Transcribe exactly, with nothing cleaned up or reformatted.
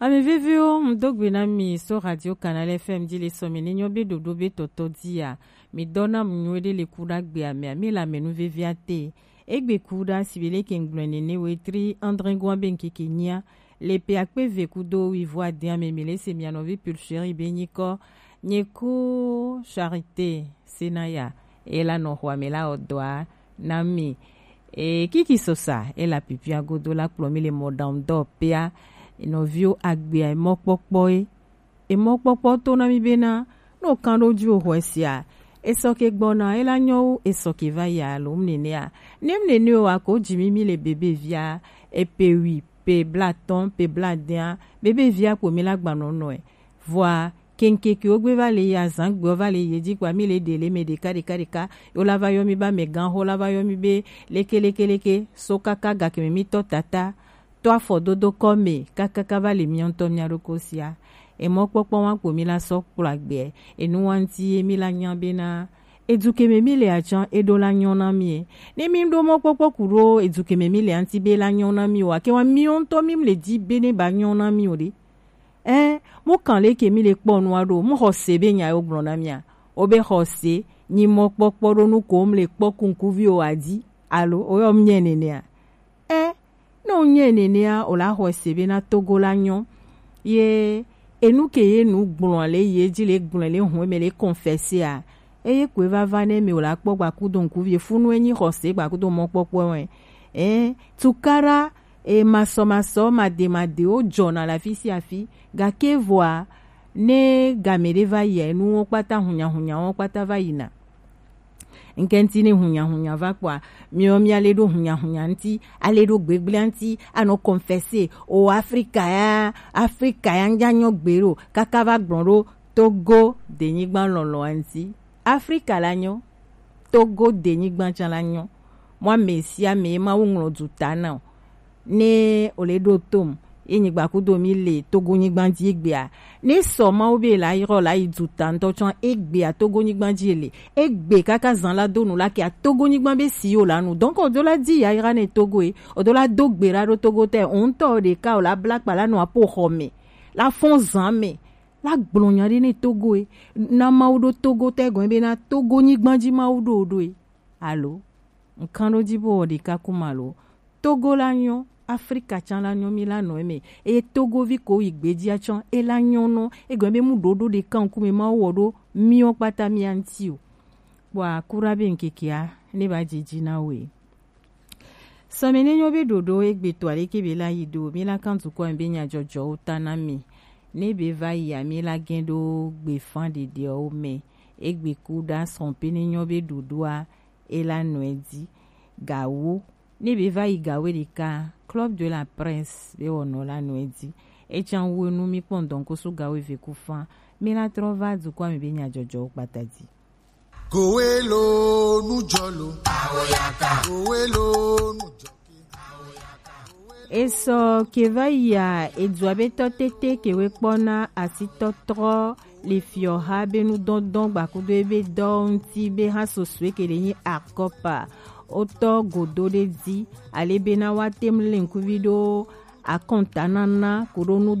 Ame veviwo, mu do gbe na mi so Radio Canal F M ji le sɔ mi ne nyo be ɖoɖo be tɔtɔ ji a. Mi dɔ na mu nyo ɖe le ku ɖa gbe ame a, mi la me nu vevi a te. Egbe ku ɖa si be le ke ŋgblɔ nene we tri André Goa be ŋkeke nyia. Le pe akpe ve ku do wi vo ade ame mi le se mia nɔvi Pulchérie be nyikɔ. Nye ku Charité Senaya, e la nɔ xɔ ame la ɔ dɔa na mi. E kiki sosa, e la pipia godo la kplɔ mi le mɔɖaŋudɔwɔƒea. Nɔviwo agbea emɔkpɔkpɔ e. Emɔkpɔkpɔ to na mi bena, no kan ɖo ju o xɔe sia. Esɔ ke gbɔna, e la nyɔ wu, esɔ ke va yi alo mu nenea. Ne mu nene o, ako ji mi mi le bebe via, e pe wi, pe blatɔn, pe bladea, bebe via kpo mi la gbanɔ nɔe. Vɔa, keŋkekewo gbe va le yi azãgbewo va le yi edzi kpoa, mi le ɖe le me ɖeka ɖeka ɖeka. Yo la va yɔ mi be amegãxo, la va yɔ mi be leke leke leke, so kaka gakeme mi tɔ tata, tɔ afɔdodo kɔ me, kakaka va le miɔ ŋutɔ mia ɖokɔ sia. Emɔkpɔkpɔ wa kpo mi la sɔ kplɔ agbe, enu wa ŋuti ye mi la nya bena, edu keme mi le atsã, eɖo la nyɔ na mi e. Ne mi ɖo mɔkpɔkpɔ ku ɖo edu keme mi le aŋuti be la nyɔ na mi o, ake wa miɔ ŋutɔ mi le di be ne ba nyɔ na mi o ɖe. Ɛ, mu kan leke mi le kpɔ nua ɖo, mu xɔ se be nya yo gblɔ na mia. O be xɔ se, nyi mɔkpɔkpɔ ɖo nu ko mu le kpɔ kunkuvi o adi, alo o yɔ mu nyɛ nenea. Ɛ, ne o nyɛ nenea, o la xɔ se be na Togo la nyɔ. Ye, enu ke ye nu gblɔ le ye dzi le gblɔ le hɔn me le confesser a. Eye koe vava ne mi o la kpɔ gbakudo ŋkuvi funu enyi xɔ se gbakudo mɔkpɔkpɔ wɛ. Ɛ, tukara e, masɔmasɔ, mademadewo dzɔna le afi sia afi, gake vɔa, ne game ɖe va yia, enuwo kpata, hunyahunyawo kpata va yina. Ŋkɛnti ne hunyahunya va kpɔa, miɔ mi ale ɖo hunyahunya ŋti, ale ɖo gbegblẽ ŋti, anɔ confesser, o Afrika ya, Afrika ya ŋdza nyɔ gbe ɖo, kaka va gblɔ ɖo Togo denyigba lɔlɔa ŋti. Afrika la nyɔ, Togo denyigba tsã la nyɔ. Mɔ ame sia ame ye Mawu ŋlɔ du ta na o. Ne o le ɖo tom, ye nyigba kudo mi le Togo nyigba dzi egbea. Ne sɔ Mawu be la yrɔ la yi du ta ŋutɔ tsã egbea Togo nyigba dzi le. Egbe kaka zan la do nu la ke a Togo nyigba be si o la nu. Donc o do la di ya yra ne Togo e. O do la do gbe la ɖo Togo te. O ŋutɔ o ɖeka o la bla kpa la nu apo xɔ me. La fɔn zan me. La gblɔ nya ɖe ne Togo e. Na Mawu ɖo Togo te gɔn be na Togo nyigba dzi Mawu ɖo ɖo e. Alo, ŋkan ɖo dzi bo wɔ ɖeka kuma lo. Togo la nyɔ, Afrika tsã la nyɔ, mi la nɔ eme. Eye Togovi ko yi gbedzia tsã, e la nyɔ nɔ. Egɔme be mu ɖoɖo ɖeka ŋkume Mawu wɔ ɖo miɔ kpata mia ŋti o. Kpɔa kura be ŋkekea ne ba dzidzi na we. Sɔmi ne nyɔ be ɖoɖo egbe to aleke be la yi do, mi la kan dukɔ be nyadzɔdzɔwo ta na mi. Ne be va yi a mi la gɛn ɖo gbefan ɖeɖewo me. Egbe ku ɖa sɔn pe ne nyɔ be ɖoɖoa e la nɔe di. Gawo. Ne be va yi gawo ɖeka, Club de la Presse be wɔnɔ la nɔe di. Etsan wu enu mi kpɔn dɔn ko su gawo eve ku fan. Mi la trɔ va dukɔ me be nyadzɔdzɔwo kpata di. Kowe lo nu jɔ lo. Awoyaka. Kowe lo nu jɔ. Esɔ ke va yia, edua be tɔ tete ke we kpɔna asitɔtrɔ le fiɔha be nudɔndɔn gbakudo ebe dɔ ŋti be ha sosue ke le nyi akɔpa. Wotɔ godo ɖe di ale be na wa tem le ŋkuvi ɖo akɔntanana koɖo nu